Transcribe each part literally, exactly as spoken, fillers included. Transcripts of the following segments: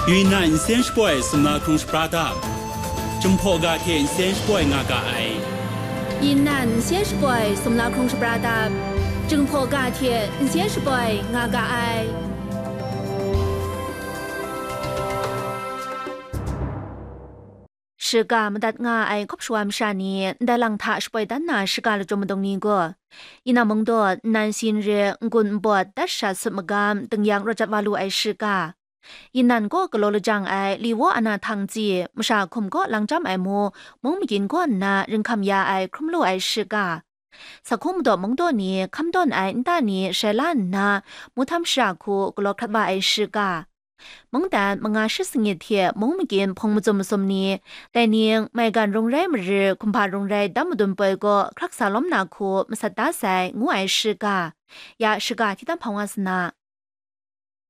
Yunnan nsen shapoi sumla hkrung shapra dap, Jinghpaw ga hte nsen shapoi nga ga ai. Yunnan nsen shapoi sumla hkrung shapra dap, Jinghpaw ga hte nsen shapoi nga ga ai. Shiga madat nga ai hkawp shawa masha ni ndai lang hta shapoi dan na shiga lachyum madung ni gaw, Yunnan mungdaw nnan sin re n-gun n-bawt dat shat sut magam ding yang rawt jat wa lu ai shiga, Yunnan kaw galaw lajang ai Liwo ana htang tsi masha hkum kaw lang chyam ai mu, mung magyin kaw nna ringhkam ya ai hkrum lu ai shiga, Sakhung madaw mungdaw ni hkam dawn ai nta ni shai la nna, mu htam shara hku galaw hkrat wa ai shiga, mungdan manga shi sangit hte mung magyin hpung mazum masum ni, dai ning maigan rung rai marir, hkumhpa rung rai dam madun poi gaw hkrak sa lawm na hku masat da sai, ngu ai shiga, ya shiga hti tam hpang wa sa na.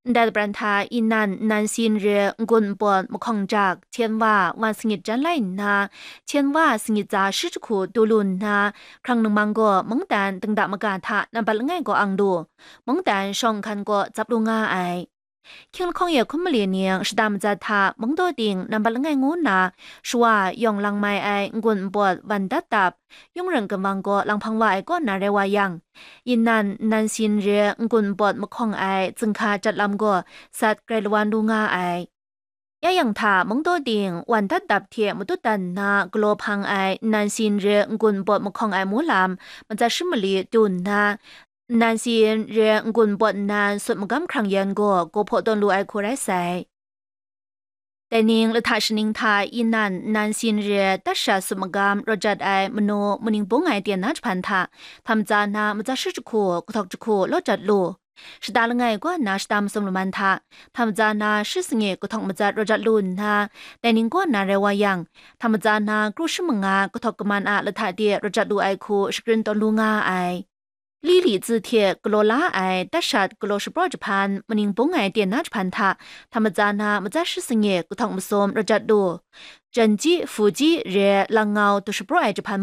Ndai lapran hta Yunnan nnan sin re n-gun n-pawt mahkawng jak, hten wa, wa sangit jan lai nna, hten wa sangit tsa shi jahku du lu nna, hkrang ningmang gaw mungdan dingda maga hta nambat langai gaw ang lu, mungdan shawng nhkan gaw tsap lu nga ai. Hkying lahkawng e hkum mali ning shada matsat hta mungdaw ting nambat langai ngu nna, shawa yawng lang mai ai n-gun n-pawt wan dat dap, yung ring ginwang gaw lang hpang wa ai kaw na rai wa yang, Yunnan nnan sin re n-gun n-pawt mahkawng ai zinghka jat lam gaw sat grai lawan lu nga ai. Ya yang hta mungdaw ting wan dat dap hte matut dan nna galaw hpang ai nnan sin re n-gun n-pawt mahkawng ai mu lam matsat shi mali du nna, nnan sin re n-gun n-pawt nnan sut magam hkrang yan gaw gaw hpaw tawn lu ai hku rai sai. Dai ning lahta shaning hta Yunnan nnan sin re dat sha sut magam rawt jat ai manu, maning bung ai ten na jahpan hta, htam tsa na matsat shi jahku, kahtawk jahku law jat lu. Shada langai kaw nna shada masum laman hta, htam tsa na shi sangi kahtawk matsat rawt jat lu nna, dai ning kaw nna rai wa yang, htam tsa na kru shi manga kahtawk kaman a lahta de rawt jat lu ai hku shakrin tawn lu nga ai. Li li tsi hte galaw la ai dat shat galaw shapraw jahpan, maning bung ai ten na jahpan hta, htam tsa na matsat shi sangi kahtawk masum rawt jat lu. Jan ji, fu ji re lang ngau du shapraw ai jahpan